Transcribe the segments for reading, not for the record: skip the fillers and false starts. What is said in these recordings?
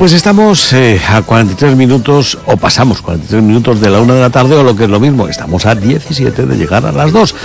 Pues estamos a 43 minutos, o pasamos 43 minutos de la 1 de la tarde, o lo que es lo mismo, estamos a 17 de llegar a las 2.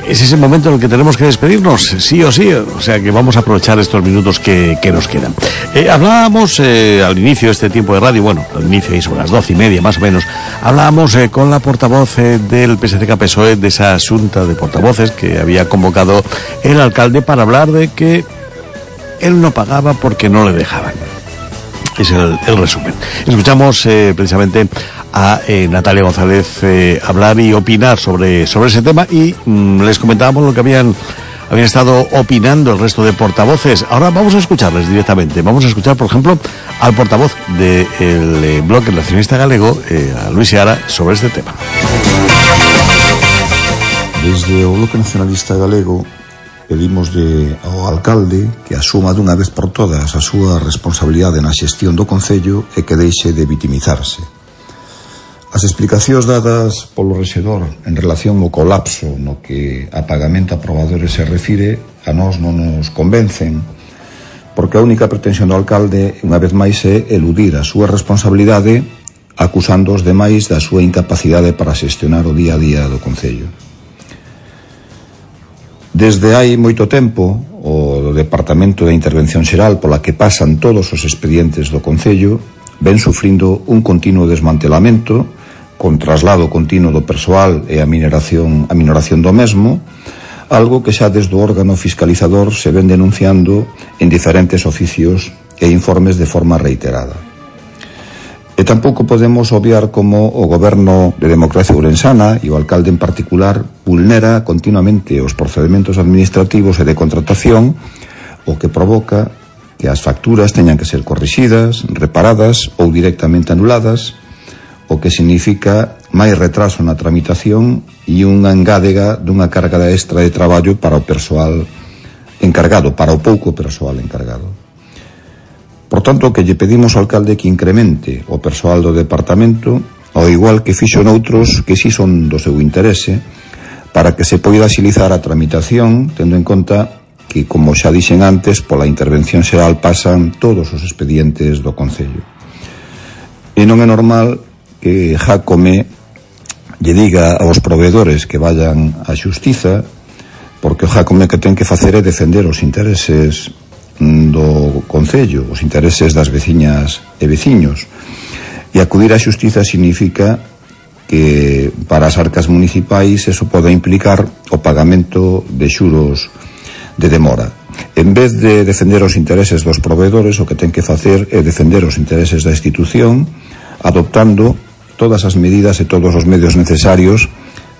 Es ese momento en el que tenemos que despedirnos, sí o sí, o sea que vamos a aprovechar estos minutos que nos quedan. Hablábamos al inicio de este tiempo de radio, bueno, al inicio y sobre las 12:30 más o menos, hablábamos con la portavoz del PSC-PSOE de esa asunta de portavoces que había convocado el alcalde para hablar de que él no pagaba porque no le dejaban. Es el resumen. Escuchamos precisamente a Natalia González hablar y opinar sobre ese tema y les comentábamos lo que habían estado opinando el resto de portavoces. Ahora vamos a escucharles directamente. Vamos a escuchar, por ejemplo, al portavoz del Bloque Nacionalista Galego, a Luis Seara, sobre este tema. Desde o Bloque Nacionalista Galego pedimos ao alcalde que asuma dunha vez por todas a súa responsabilidade na xestión do concello e que deixe de vitimizarse. As explicacións dadas polo rexedor en relación ao colapso no que a pagamento a probadores se refire a nós non nos convencen, porque a única pretensión do alcalde unha vez máis é eludir a súa responsabilidade acusando os demais da súa incapacidade para xestionar o día a día do concello. Desde hai moito tempo, o Departamento de Intervención Xeral pola que pasan todos os expedientes do concello ven sufrindo un continuo desmantelamento con traslado continuo do persoal e a minoración do mesmo, algo que xa desde o órgano fiscalizador se ven denunciando en diferentes oficios e informes de forma reiterada. E tampouco podemos obviar como o goberno de Democracia Ourensana e o alcalde en particular vulnera continuamente os procedimentos administrativos e de contratación, o que provoca que as facturas teñan que ser corrixidas, reparadas ou directamente anuladas, o que significa máis retraso na tramitación e unha engádega dunha carga extra de traballo para o persoal encargado, para o pouco persoal encargado. Por tanto, que lle pedimos ao alcalde que incremente o persoal do departamento, ao igual que fixo noutros que si son do seu interese, para que se poida axilizar a tramitación, tendo en conta que, como xa dixen antes, pola intervención xeral pasan todos os expedientes do concello. E non é normal que Jácome lle diga aos proveedores que vayan á xustiza, porque o Jácome que ten que facer é defender os intereses do concello, os intereses das veciñas e veciños, e acudir á xustiza significa que para as arcas municipais eso pode implicar o pagamento de xuros de demora. En vez de defender os intereses dos proveedores, o que ten que facer é defender os intereses da institución, adoptando todas as medidas e todos os medios necesarios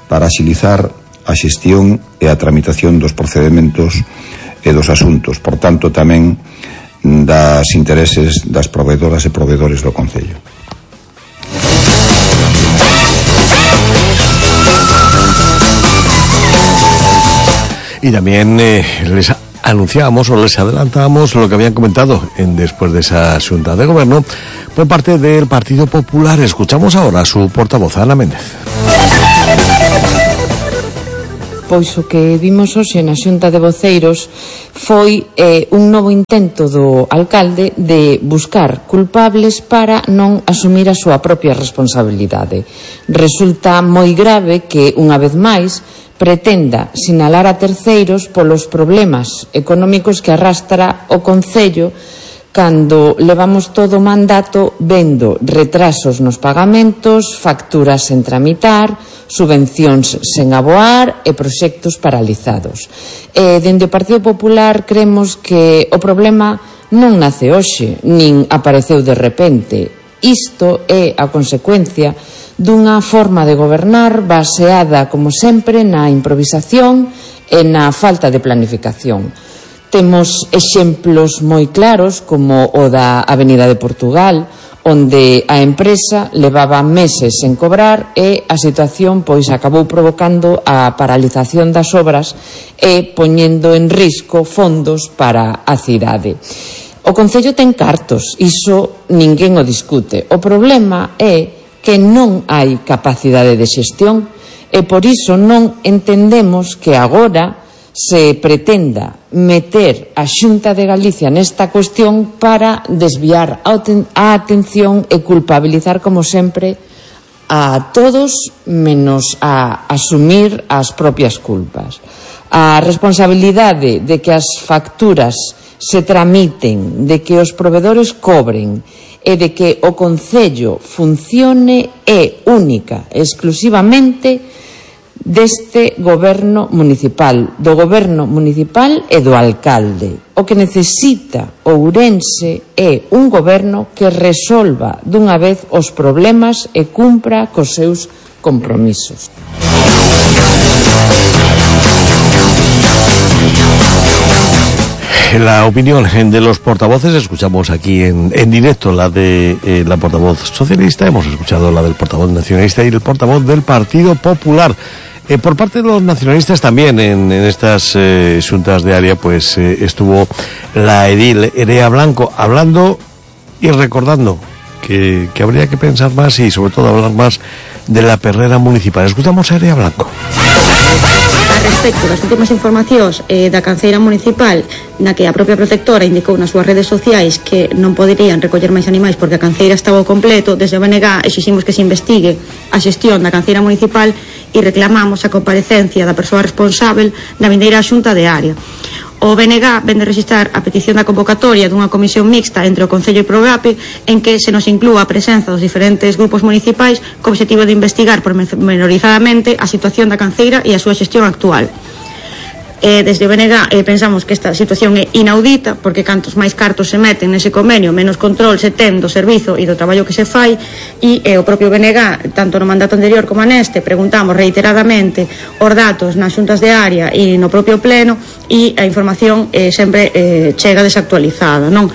para axilizar a xestión e a tramitación dos procedementos e dos asuntos, por tanto tamén das intereses das proveedoras e proveedores do concello. Y también les anunciábamos o les adelantábamos lo que habían comentado después de esa Xunta de Gobierno por parte del Partido Popular. Escuchamos ahora a su portavoz, Ana Méndez. Pois o que vimos hoxe na Xunta de Voceiros foi un novo intento do alcalde de buscar culpables para non asumir a súa propia responsabilidade. Resulta moi grave que, unha vez máis, pretenda sinalar a terceiros polos problemas económicos que arrastra o concello cando levamos todo o mandato vendo retrasos nos pagamentos, facturas sen tramitar, subvencións sen aboar e proxectos paralizados. Dende o Partido Popular creemos que o problema non nace hoxe, nin apareceu de repente. Isto é a consecuencia dunha forma de gobernar baseada, como sempre, na improvisación e na falta de planificación. Temos exemplos moi claros como o da Avenida de Portugal, onde a empresa levaba meses sen cobrar e a situación pois acabou provocando a paralización das obras e poñendo en risco fondos para a cidade. O Concello ten cartos, iso ninguén o discute. O problema é que non hai capacidade de xestión e por iso non entendemos que agora se pretenda meter a Xunta de Galicia nesta cuestión para desviar a atención e culpabilizar, como sempre, a todos menos a asumir as propias culpas. A responsabilidade de que as facturas se tramiten, de que os provedores cobren e de que o Concello funcione é única, exclusivamente deste goberno municipal, do goberno municipal e do alcalde. O que necesita Ourense é un goberno que resolva dunha vez os problemas e cumpra cos seus compromisos. La opinión de los portavoces, escuchamos aquí en directo la de la portavoz socialista, hemos escuchado la del portavoz nacionalista y el portavoz del Partido Popular. Por parte de los nacionalistas también en estas xuntas de área pues estuvo la edil Erea Blanco hablando y recordando que habría que pensar más y sobre todo hablar más de la perrera municipal. Escuchamos a Erea Blanco. A respecto das últimas informacións da canceira municipal, na que a propia protectora indicou nas súas redes sociais que non poderían recoller máis animais porque a canceira estaba ao completo, desde o BNG exiximos que se investigue a xestión da canceira municipal e reclamamos a comparecencia da persoa responsável na vindeira xunta de área. O BNG vende registrar a petición da convocatoria dunha comisión mixta entre o Concello e Progape en que se nos inclúa a presenza dos diferentes grupos municipais co obxectivo de investigar pormenorizadamente a situación da canceira e a súa xestión actual. Desde o BNG pensamos que esta situación é inaudita porque cantos máis cartos se meten nese convenio, menos control se ten do servizo e do traballo que se fai e o propio BNG, tanto no mandato anterior como neste, preguntamos reiteradamente os datos nas xuntas de área e no propio pleno e a información sempre chega desactualizada, non?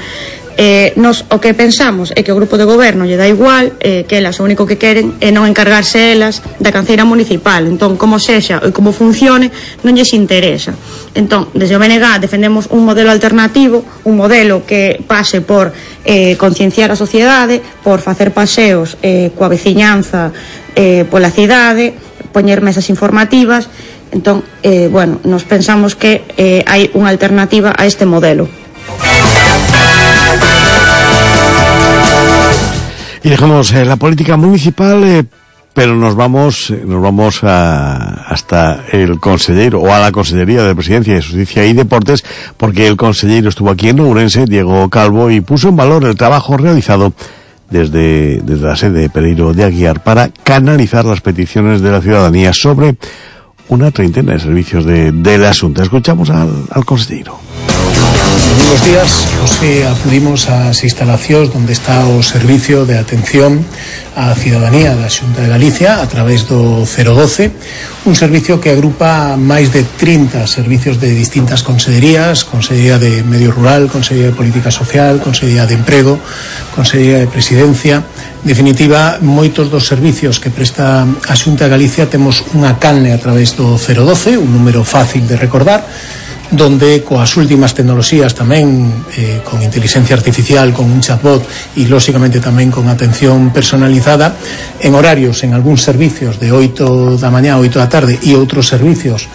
Nos o que pensamos é que o grupo de goberno lle dá igual, que elas o único que queren é non encargarse elas da canceira municipal, entón como sexa e como funcione non lles interesa. Entón, desde o BNG defendemos un modelo alternativo, un modelo que pase por concienciar a sociedade, por facer paseos coa veciñanza pola cidade, poñer mesas informativas. Entón, nos pensamos que hai unha alternativa a este modelo. Y dejamos la política municipal, pero nos vamos hasta el consejero o a la Consellería de Presidencia de Justicia y Deportes, porque el consejero estuvo aquí en Ourense, Diego Calvo, y puso en valor el trabajo realizado desde la sede de Pereiro de Aguiar para canalizar las peticiones de la ciudadanía sobre una treintena de servicios de la Xunta. Escuchamos al consejero. Buenos días, hoxe acudimos ás instalacións onde está o servicio de atención á ciudadanía da Xunta de Galicia a través do 012, un servicio que agrupa máis de 30 servicios de distintas consellerías, Consellería de Medio Rural, Consellería de Política Social, Consellería de Emprego, Consellería de Presidencia. En definitiva, moitos dos servicios que presta a Xunta de Galicia temos unha canle a través do 012, un número fácil de recordar, donde coas últimas tecnoloxías tamén con inteligencia artificial, con un chatbot e lóxicamente tamén con atención personalizada en horarios, en algúns servicios de 8 da mañá, 8 da tarde e outros servicios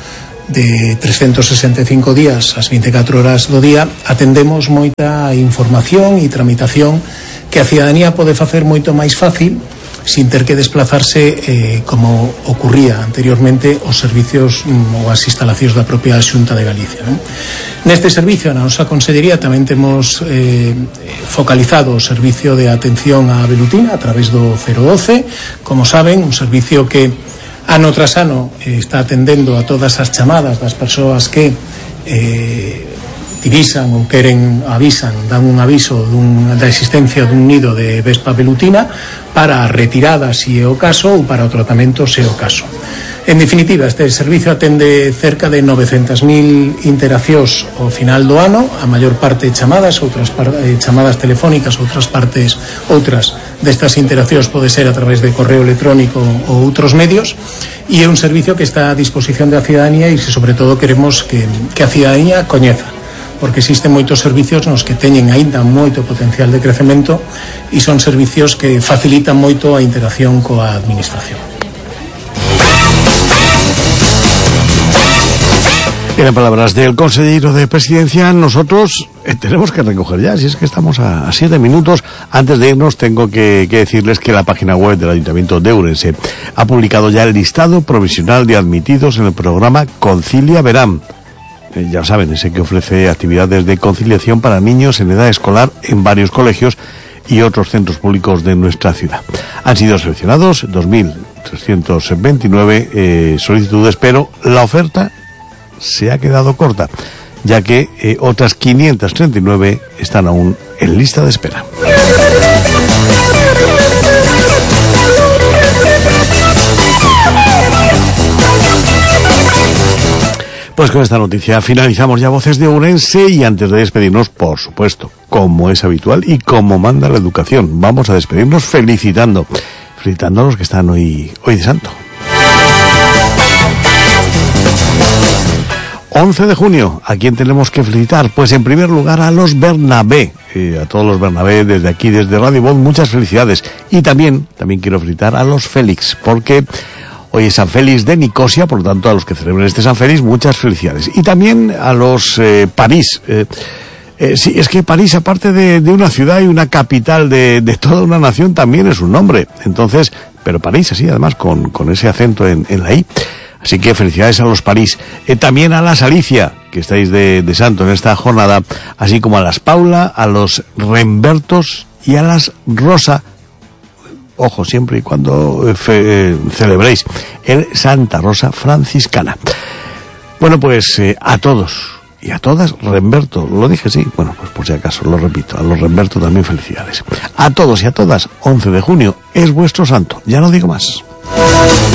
de 365 días as 24 horas do día, atendemos moita información e tramitación que a ciudadanía pode facer moito máis fácil sin ter que desplazarse como ocurría anteriormente os servicios ou as instalacións da propia Xunta de Galicia, non? Neste servicio, na nosa consellería, tamén temos focalizado o servicio de atención á velutina a través do 012, como saben, un servicio que ano tras ano está atendendo a todas as chamadas das persoas que divisan ou avisan, dan un aviso da existencia dun nido de vespa velutina para a retirada se é o caso ou para o tratamento se é o caso. En definitiva, este servicio atende cerca de 900.000 interaccións ao final do ano, a maior parte chamadas, outras chamadas telefónicas, outras destas interaccións pode ser a través de correo electrónico ou outros medios, e é un servicio que está a disposición da ciudadanía e que sobre todo queremos que a ciudadanía coñeza, porque existen moitos servicios nos que teñen aínda moito potencial de crecemento e son servicios que facilitan moito a interacción coa administración. En palabras del consejero de Presidencia, nosotros tenemos que recoger ya, si es que estamos a 7 minutos. Antes de irnos tengo que decirles que la página web del Ayuntamiento de Ourense ha publicado ya el listado provisional de admitidos en el programa Concilia Verán. Ya saben, ese que ofrece actividades de conciliación para niños en edad escolar en varios colegios y otros centros públicos de nuestra ciudad. Han sido seleccionados 2.329 solicitudes, pero la oferta se ha quedado corta, ya que otras 539 están aún en lista de espera. Pues con esta noticia finalizamos ya Voces de Ourense, y antes de despedirnos, por supuesto, como es habitual y como manda la educación, vamos a despedirnos felicitando a los que están hoy de santo. 11 de junio, ¿a quién tenemos que felicitar? Pues en primer lugar a los Bernabé, a todos los Bernabé desde aquí, desde Radio Voz, muchas felicidades. Y también quiero felicitar a los Félix, porque hoy es San Félix de Nicosia, por lo tanto a los que celebren este San Félix, muchas felicidades. Y también a los París. Sí, es que París, aparte de una ciudad y una capital de toda una nación, también es un nombre. Entonces, pero París, así además, con ese acento en la I. Así que felicidades a los París. También a las Alicia, que estáis de santo en esta jornada, así como a las Paula, a los Rembertos y a las Rosa. Ojo, siempre y cuando celebréis el Santa Rosa Franciscana. Bueno, pues a todos y a todas, Remberto, lo dije, sí, bueno, pues por si acaso, lo repito, a los Remberto también felicidades. A todos y a todas, 11 de junio es vuestro santo, ya no digo más.